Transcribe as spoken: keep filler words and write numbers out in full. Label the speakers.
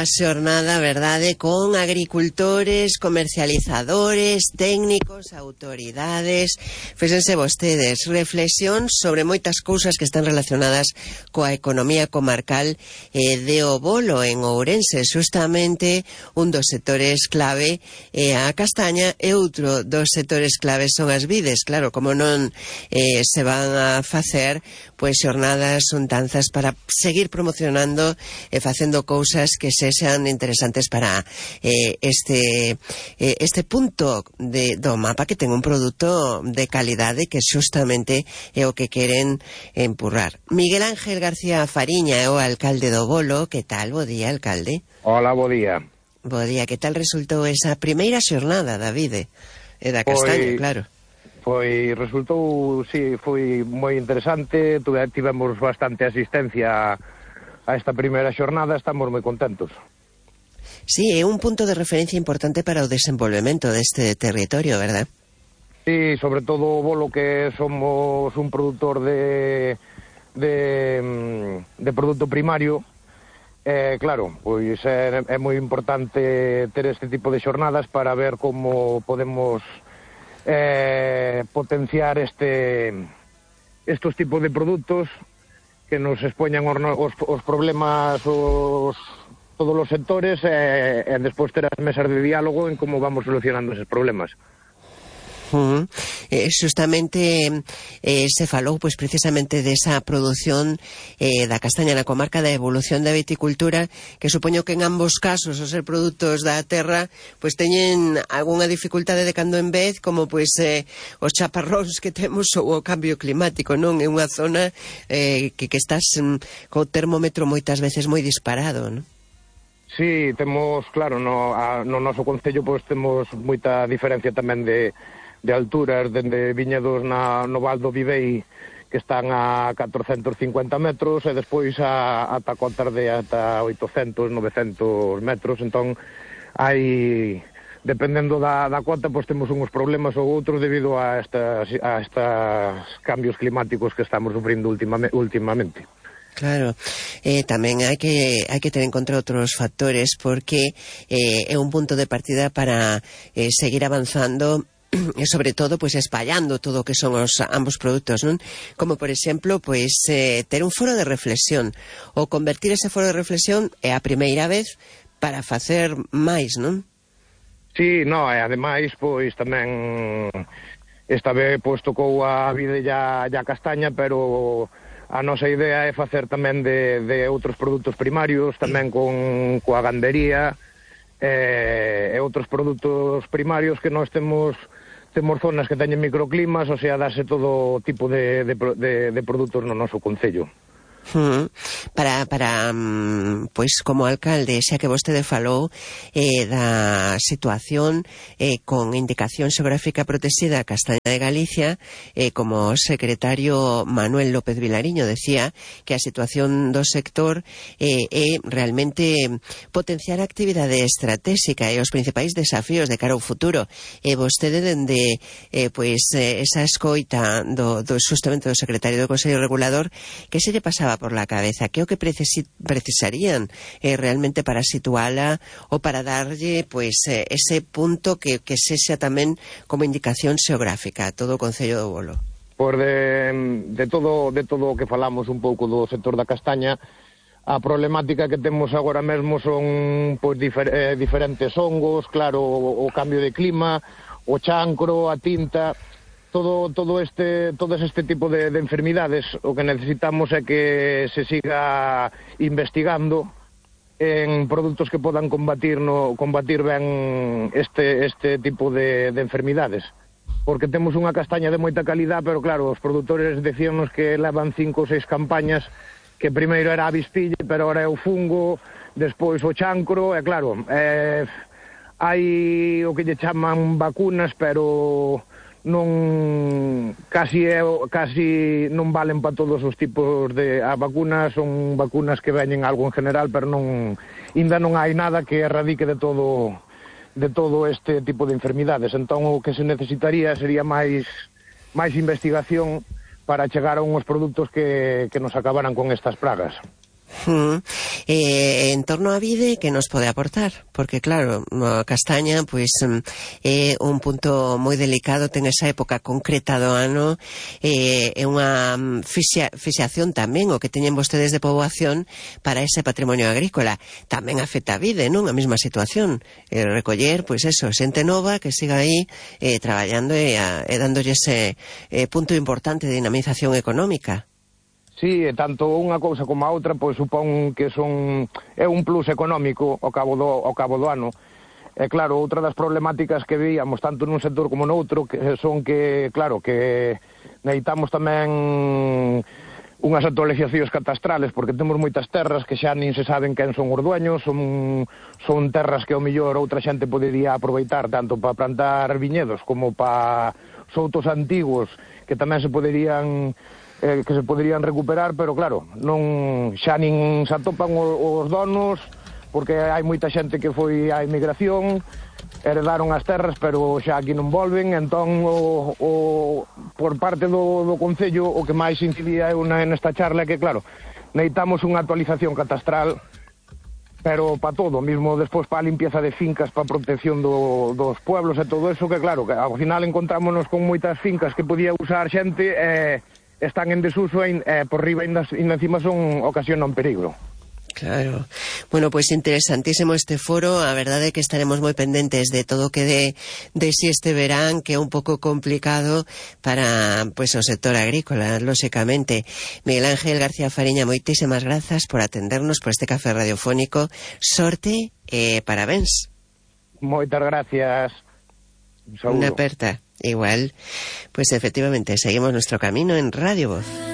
Speaker 1: A xornada, verdade, con agricultores, comercializadores, técnicos, autoridades. Fíxense vostedes, reflexión sobre moitas cousas que están relacionadas coa economía comarcal eh, de O Bolo en Ourense. Justamente un dos sectores clave é eh, a castaña e outro dos sectores claves son as vides. Claro, como non eh, se van a facer pois xornadas untanzas para seguir promocionando e facendo cousas que se sean interesantes para eh, este eh, este punto de, do mapa, que ten un produto de calidade que justamente é o que queren empurrar. Miguel Ángel García Fariña é o alcalde do Bolo. Que tal? Bo día, alcalde.
Speaker 2: Hola, bo día.
Speaker 1: Bo día. Que tal resultou esa primeira xornada, Davide? E da castaña, foi, claro.
Speaker 2: Foi, resultou, sí, foi moi interesante. Tivemos bastante asistencia a esta primeira xornada, estamos moi contentos.
Speaker 1: Sí, é un punto de referencia importante para o desenvolvemento deste territorio, verdad?
Speaker 2: Sí, sobre todo o Bolo, que somos un produtor de de, de produto primario. Eh, claro, pois é, é moi importante ter este tipo de xornadas para ver como podemos eh, potenciar este estos tipos de produtos que nos expoñan os, os, os problemas os todos os sectores e, e despois ter as mesas de diálogo en como vamos solucionando eses problemas.
Speaker 1: Uh -huh. eh, justamente eh, se falou pois precisamente desa produción eh, da castaña na comarca, da evolución da viticultura, que supoño que en ambos casos os ser produtos da terra pois teñen algunha dificultade de cando en vez, como pois eh, os chaparróns que temos ou o cambio climático, non? É unha zona eh, que, que estás mm, co termómetro moitas veces moi disparado, non?
Speaker 2: Sí, temos, claro, no, a, no noso concello pois temos moita diferencia tamén de, de alturas, dende viñedos na, no Val do Vivei, que están a catrocentos cincuenta metros, e despois a, ata cotas de ata oitocentos, novecentos metros. Entón, hai, dependendo da, da cota, pois temos uns problemas ou outros debido a estas, a estas cambios climáticos que estamos sufrindo ultimamente. ultimamente.
Speaker 1: Claro, eh, tamén hai que hai que ter en conta outros factores, porque eh, é un punto de partida para eh, seguir avanzando e sobre todo pois espallando todo o que son os ambos produtos, non? Como por exemplo, pois eh, ter un foro de reflexión, ou convertir ese foro de reflexión é a primeira vez para facer máis, non?
Speaker 2: Sí, no, e ademais pois tamén esta vez pois tocou a vide ya, ya castaña, pero a nosa idea é facer tamén de, de outros produtos primarios, tamén con coa gandería e, e outros produtos primarios que nós temos temos zonas que teñen microclimas, o sea, darse todo tipo de, de, de, de produtos no noso concello.
Speaker 1: Hmm. Para, para pois como alcalde, xa que vostede falou eh, da situación eh, con indicación xeográfica protexida Castaña de Galicia, eh, como o secretario Manuel López Vilariño decía que a situación do sector eh, é realmente potenciar a actividade estratégica e os principais desafíos de cara ao futuro, e vostede dende eh, pois eh, esa escoita do, do justamente do secretario do Consello Regulador, que se lle pasaba por la cabeza, que o que precisi, precisarían eh, realmente para situala ou para darlle pois eh, ese punto que, que sexa tamén como indicación xeográfica a todo o Concello do Bolo?
Speaker 2: Pois de, de todo de todo o que falamos un pouco do sector da castaña, a problemática que temos agora mesmo son pois difer, eh, diferentes hongos, claro, o, o cambio de clima, o chancro, a tinta. Todo, todo este, todo este tipo de, de enfermidades, o que necesitamos é que se siga investigando en produtos que podan combatir, no, combatir ben este, este tipo de, de enfermidades. Porque temos unha castaña de moita calidad, pero claro, os produtores decíanos que levan cinco ou seis campañas, que primeiro era a avispilla, pero agora é o fungo, despois o chancro, e claro, eh, hai o que lle chaman vacunas, pero non casi é, casi non valen para todos os tipos de a vacunas, son vacunas que veñen algo en general, pero non ainda non hai nada que erradique de todo de todo este tipo de enfermidades. Entón o que se necesitaría sería máis máis investigación para chegar a unhos produtos que, que nos acabaran con estas pragas.
Speaker 1: Mm. Eh, en torno a vide, que nos pode aportar? Porque claro, a castaña pois é un punto moi delicado, ten esa época concreta do ano, eh, é unha fixia, fixación tamén o que teñen vostedes de poboación para ese patrimonio agrícola. Tamén afecta a vide, non? A mesma situación, eh, recoller, pois eso, xente nova que siga aí eh, traballando e, a, e dándolle ese eh, punto importante de dinamización económica.
Speaker 2: Sí, e tanto unha cousa como a outra, pois supón que son é un plus económico ao cabo do, ao cabo do ano. E claro, outra das problemáticas que veíamos tanto nun sector como noutro que son que, claro, que necesitamos tamén unhas actualizacións catastrales, porque temos moitas terras que xa nin se saben quen son os dueños, son, son terras que ao mellor outra xente podería aproveitar tanto para plantar viñedos como para soutos antigos que tamén se poderían eh, que se poderían recuperar, pero claro, non xa nin se atopan os, os donos, porque hai moita xente que foi á emigración, heredaron as terras, pero xa aquí non volven, entón o, o, por parte do, do Concello o que máis incidía eu nesta charla é que, claro, necesitamos unha actualización catastral, pero para todo, mismo despois para a limpieza de fincas, para a protección do, dos pueblos e todo eso, que claro, que ao final encontrámonos con moitas fincas que podía usar xente e eh, están en desuso e eh, por riba ainda, ainda encima son ocasionan peligro.
Speaker 1: Claro. Bueno, pois pues interesantísimo este foro. A verdade é que estaremos moi pendentes de todo o que de, de si este verán, que é un pouco complicado para pues, o sector agrícola, lóxicamente. Miguel Ángel García Fariña, moitísimas grazas por atendernos por este café radiofónico. Sorte e eh, parabéns.
Speaker 2: Moitas gracias.
Speaker 1: Un Unha aperta. Igual, pues efectivamente, seguimos nuestro camino en Radio Voz.